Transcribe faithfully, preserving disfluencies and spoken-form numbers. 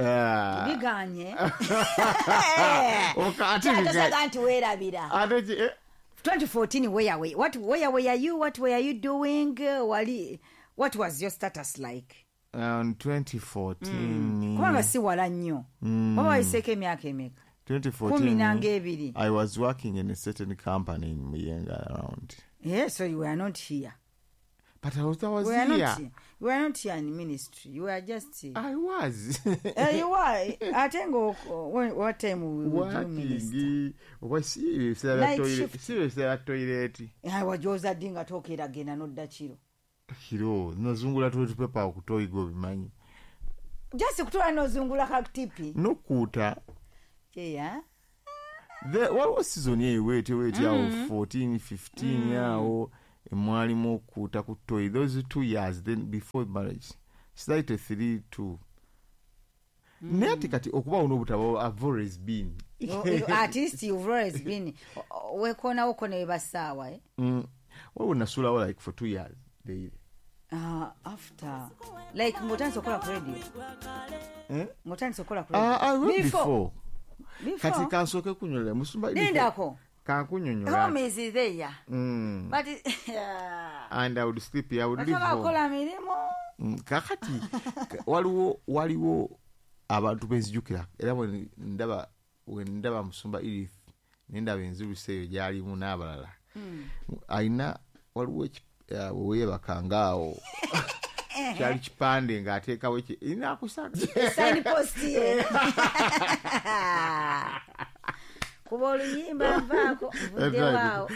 Ah. Biganye. Oka- ate biga- Kyatosaga nti weerabira. Ate ki- eh, twenty fourteen, where were what where were you? What were you doing? Wali, what was your status like? Um, twenty fourteen. Kubanga si wala nnyo. Oba wayiseeko emyaka emeka? twenty fourteen. Kumi nanga ebiri. I was working in a certain company in Muyenga around. Yeah, so you were not here. But I was, I was We were here. not here. You were not here in ministry. You were just I was. Eh, you were. Ate nga what time would you minister? Working. Oba si ebiseera bya Night toilet- shift. si ebiseera bya toilet. Ah, wajooza ddi nga tokeera genda n'odda kiro? Kiro nazungula toilet paper okutoyiga, obimanyi. Just kutula n'ozungula kakutipi. Nokuuta. Yeah. The- waliwo season eyo weete weete awo fourteen fifteen awo emwalimu okuuta ku toyi, those two years, then before marriage slightly three two. Naye ate kati okubawo n'obutabo, I've always been. You- you- at least you've always been wekoonawoko ne webasaawa, eh? Mm. Waliwo nasulawo like for two years daily. Uh, after like ng'otandise okukola ku radio? Eh? Ng'otandise okukola ku Ah, I went radio? before. Kati Before. kansooke kunyonyola musumba. Lindako. Kankunyonyola. Home is there. Mm. But And I would sleep here, I would leave home. otobakola mirimu. Mm, kakati ka- waliwo waliwo abantu benzijukira era bwe ndaba bwe ndaba musumba Edith nendaba enzirusa eyo gyalimu n'abalala alina waliwo eki- eh, weweebakanga awo kyali kipande ng'ateekawo eki inakusaga. Signpost ye kuba oluyimba nvaako nvuddewo awo.